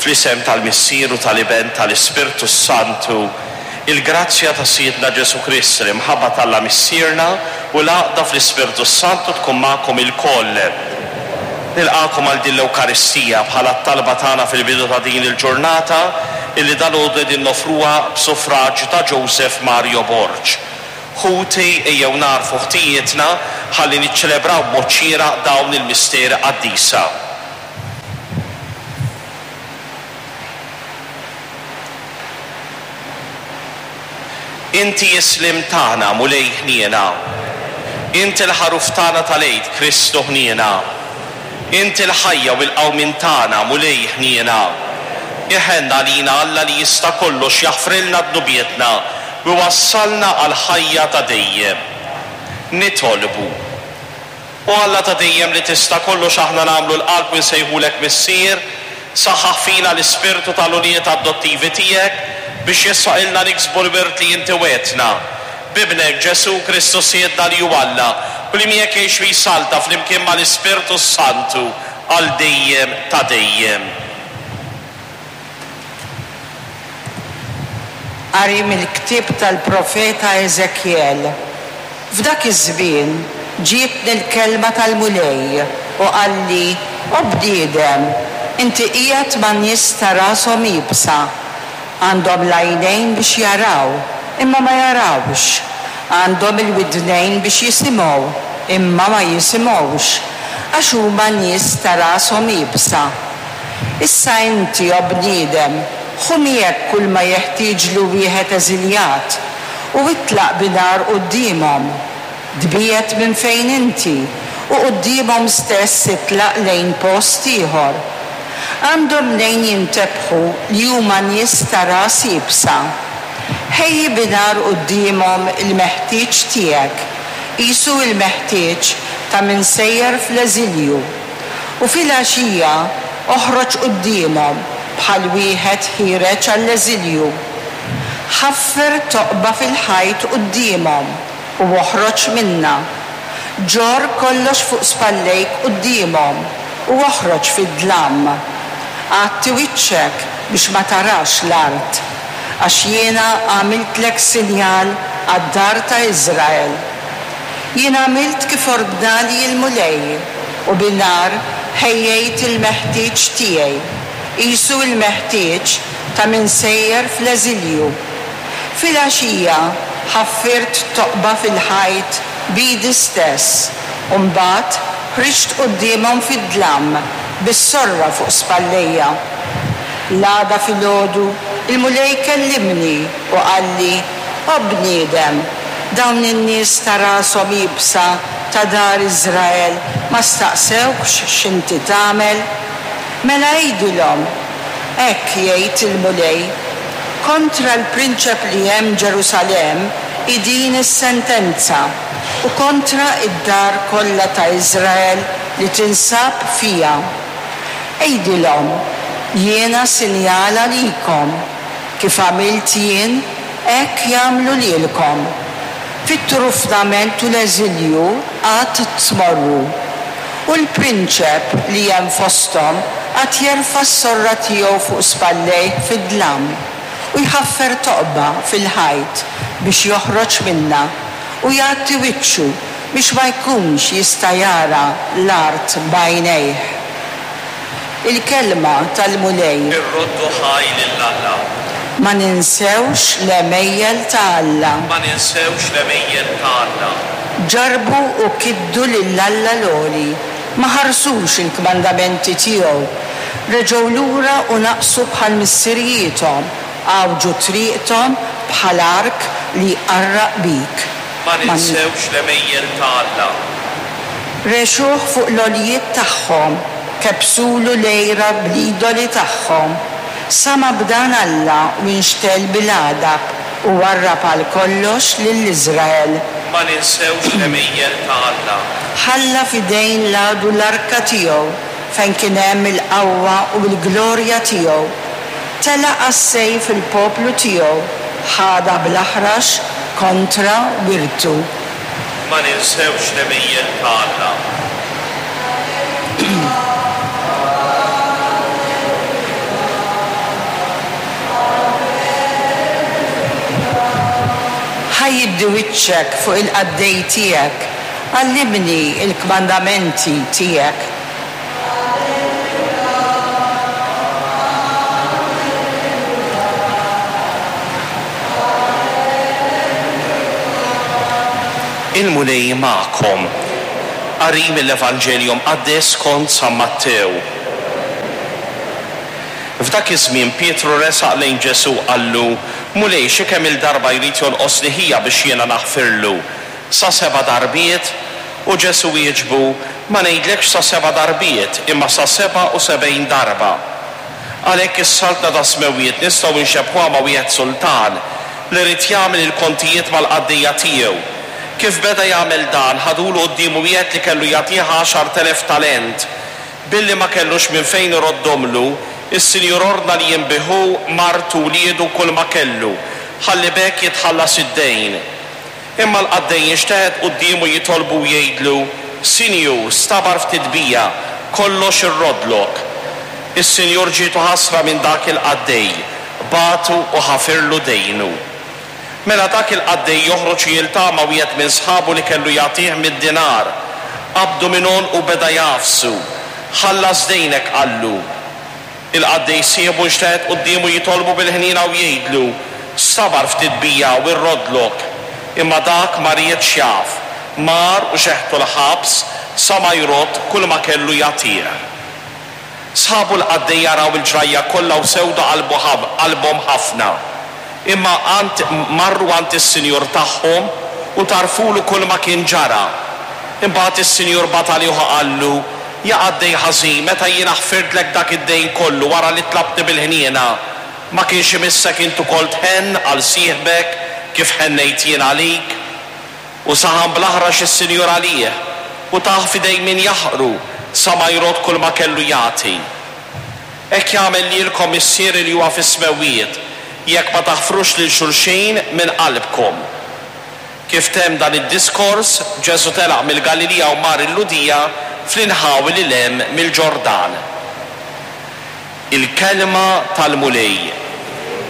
Fl-isem tal-Missier u tal-Iben tal-Ispirtu s-Santu, il-grazzja ta' Sidna Ġesù Kristu, l-imħabba t'Alla Missierna u l-għaqda fl-Ispirtu s-Santu tkun magħkom ilkoll. Nilqagħkom għal din l-Ewkaristija bħala t-talba tagħna fil-bidu ta' din il-ġurnata illi dalgħodu qegħdin noffruha b'suffraġju ta' Joseph Mario Borg. Ħuti, ejjew nagħrfu ħtijietna ħalli niċċelebraw b'mod xieraq dawn il-misteri qaddisa. Inti s-sliem tagħna, Mulej ħniena. Inti l-Ħaruf tagħna tal-Għid, Kristu ħniena. Inti l-ħajja u l-qawmien tagħna, Mulej ħniena. Iħenn għalina Alla li jista' kollox jaħfrilna dnubietna u jwassalna għall-ħajja ta' dejjem. Nitolbu. O Alla ta' dejjem li tista' kollox aħna nagħmlu l-qalb u nsejħulek Missier, saħħaħ fina l-ispirtu tal-ulied adottivi tiegħek biex jessaqilna niksbu l-wirt li inti wegħdtna. B'Ibnek Ġesù Kristu Sidna li hu Alla u li miegħek jgħix u jsalta flimkien mal-Ispirtu s-Santu għal dejjem ta' dejjem. Qari mill-ktieb tal-profeta Eżekjel. F'dak iż-żmien ġietni l-kelma tal-Mulej u qalli, O bniedem, inti qiegħed ma' nies ta' rashom iebsa. Għandhom l-għajnejn biex jaraw, imma ma jarawx, għandhom il-widnejn biex jisimgħu, imma ma jisimgħux, għax huma nies ta' rashom iebsa. Issa inti, o bniedem, ħu miegħek kulma jeħtieġlu wieħed eżiljat, u itlaq bi nhar quddiemhom. Tbiegħed minn fejn inti, u quddiemhom stess itlaq lejn post ieħor. Għandhom mnejn jintebħu li huma nies ta' ras iebsa. Ħejji bi nhar quddiemhom il-meħtieġ tiegħek, qisu il-meħtieġ ta' min sejjer fl-eżilju. U filgħaxija oħroġ quddiemhom bħal wieħed ħiereġ għall-eżilju. Ħaffer toqba fil-ħajt quddiemhom u oħroġ minnha. Ġorr kollox fuq spallejk quddiemhom u oħroġ fid-dlam. Għatti wiċċek biex ma tarax l-art, għax jiena għamiltlek sinjal għad-dar ta' Iżrael. Jien għamilt kif ordnali l-Mulej, u bin-nhar ħejjejt il-meħtieġ tiegħi, qisu l-meħtieġ ta' min sejjer fl-eżilju. Filgħaxija ħaffirt toqba fil-ħajt b'idi stess, u mbagħad ħriġt quddiemhom fid-dlam bis-sorra fuq spallejja. L-għada filgħodu l-Mulej kellimni u qalli, O bniedem, dawn in-nies ta' rashom iebsa ta' dar Iżrael ma staqsewkx x'inti tagħmel? Mela għidilhom, 'Hekk jgħid il-Mulej, Kontra l-prinċep li hemm Ġerusalemm hi din is-sentenza, u kontra d-dar kollha ta' Iżrael li tinsab fiha. Għidilhom, 'Jiena sinjal għalikom. Kif għamilt jien, hekk jagħmlu lilkom. Fit-turufnament u l-eżilju għad tmorru. U l-prinċep li hemm fosthom għad jerfa' s-sorra tiegħu fuq spallejh fid-dlam, u jħaffer toqba fil-ħajt biex joħroġ minnha, u jgħatti wiċċu biex ma jkunx jista' jara l-art b'għajnejh. Il-kelma tal-Mulej. Irroddu ħaj lil Alla. Ma ninsewx l-għemejjel ta' Alla. Ma ninsewx l-għemejjel ta' Alla. Ġarrbu u kiddu lil Alla l-Għoli, ma ħarsux il-kmandamenti tiegħu, reġgħu lura u naqsu bħal missirijiethom, għawġu triqthom bħal ark li jqarraq bik. Ma ninsewx l-għemejjel ta' Alla. Regħxuh fuq l-għoljiet tagħhom, kebbsulu l-għira bl-idoli tagħhom. Sama' b'dan Alla u inxtegħel bil-għadab u warrab għal kollox lil Iżrael. Ma ninsewx l-għemejjel ta' Alla. Ħalla f'idejn l-għadu l-arka tiegħu fejn kien hemm il-qawwa u l-glorja tiegħu. Telaq għas-sejf il-poplu tiegħu, ħadha bl-aħrax kontra wirtu. Ma ninsewx l-għemejjel ta' Alla. jiddi wiċċek fuq il-qaddej tiegħek, għallimni l-kmandamenti tiegħek. Il-Mulej magħkom. Qari mill-Evanġelju Mqaddes skont San Mattew. F'dak iż-żmien Pietru resaq lejn Ġesù u qallu, Mulej, xi kemm-il darba jrid jonqosli ħija biex jiena naħfirlu? Sa seba' darbiet? U Ġesù wieġbu, Ma ngħidlekx sa seba' darbiet, imma sa 77 darba. Għalhekk is-Saltna tas-Smewwiet nistgħu nxebbhuha ma' wieħed sultan li ried jagħmel il-kontijiet mal-qaddejja tiegħu. Kif beda jagħmel dan, ħadulu quddiemu wieħed li kellu jagħtih 10,000 talent. Billi ma kellux minn fejn iroddhomlu, is-sinjur ordna li jinbigħ hu, martu, wliedu u kulma kellu, ħalli b'hekk jitħallas id-dejn. Imma l-qaddej jinxteħet quddiemu jitolbu u jgħidlu, 'Sinjur, stabar ftit bija, kollox irroddlok. Is-sinjur ġietu ħasra minn dak il-qaddej, bagħtu u ħafirlu dejnu. Mela dak il-qaddej joħroġ u jiltaqa' ma' wieħed minn sħabu li kellu jagħtih mitt dinar. Qabdu minn għonqu u beda jagħfsu. Ħallas dejnek, qallu. Il-qaddej sieħbu nxteħet quddiemu jitolbu bil-ħniena u jgħidlu, Stabar ftit bija u rroddlok. Imma dak ma riedx jaf. Mar u xeħtu l-ħabs sa ma jrodd kulma kellu jagħtih. Sħabu l-qaddejja raw il-ġrajja kollha u sewdu qalbu qalbhom ħafna. Imma għand marru għand is-sinjur tagħhom u tgħarrfulu kulma kien ġara. Imbagħad is-sinjur bagħat għalih u qallu, Ja qaddej ħażin, meta jiena ħfirtlek dak id-dejn kollu wara li tlabtni bil-ħniena, ma kienx imissek int ukoll tħenn għal sieħbek kif ħennejt jien għalik? U saħan bl-aħrax is-sinjur għalih, u tah f'idejn min jaħqru, sa ma jrodd kulma kellu jagħti. Hekk jagħmel lilkom Missieri li huwa fis-smewwiet, jekk ma taħfrux lil xulxin minn qalbkom. Kif temm dan id-diskors, Ġesù telaq mill-Galilija u mar il-Lhudija, fl-inħawi lil hemm mill-Ġordan. Il-Kelma tal-Mulej.